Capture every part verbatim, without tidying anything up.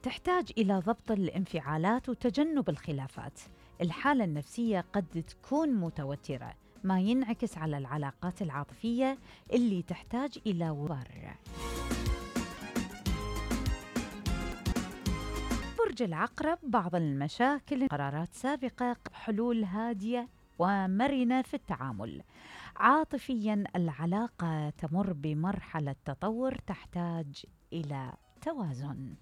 تحتاج إلى ضبط الانفعالات وتجنب الخلافات. الحالة النفسية قد تكون متوترة، ما ينعكس على العلاقات العاطفية اللي تحتاج إلى وبر. برج العقرب، بعض المشاكل قرارات سابقة، حلول هادية ومرنة في التعامل. عاطفياً العلاقة تمر بمرحلة تطور تحتاج إلى توازن.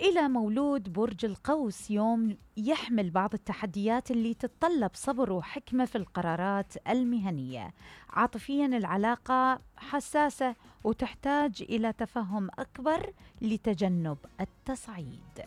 إلى مولود برج القوس، يوم يحمل بعض التحديات اللي تتطلب صبر وحكمة في القرارات المهنية. عاطفياً العلاقة حساسة وتحتاج إلى تفهم أكبر لتجنب التصعيد.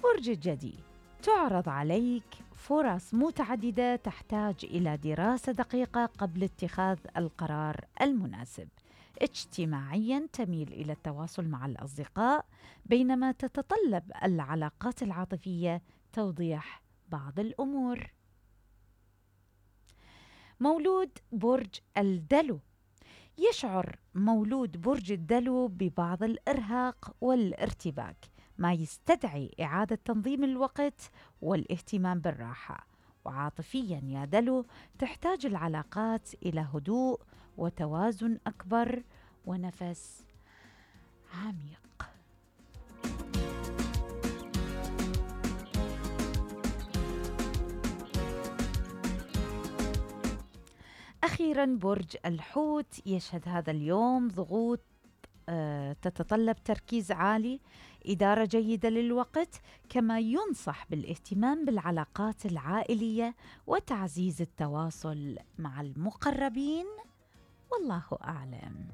برج الجدي، تعرض عليك فرص متعددة تحتاج إلى دراسة دقيقة قبل اتخاذ القرار المناسب. اجتماعياً تميل إلى التواصل مع الأصدقاء، بينما تتطلب العلاقات العاطفية توضيح بعض الأمور. مولود برج الدلو، يشعر مولود برج الدلو ببعض الإرهاق والارتباك، ما يستدعي إعادة تنظيم الوقت والاهتمام بالراحة. وعاطفياً يا دلو، تحتاج العلاقات إلى هدوء وتوازن أكبر ونفس عميق. أخيراً برج الحوت، يشهد هذا اليوم ضغوط أه تتطلب تركيز عالي، إدارة جيدة للوقت، كما ينصح بالاهتمام بالعلاقات العائلية وتعزيز التواصل مع المقربين. والله أعلم.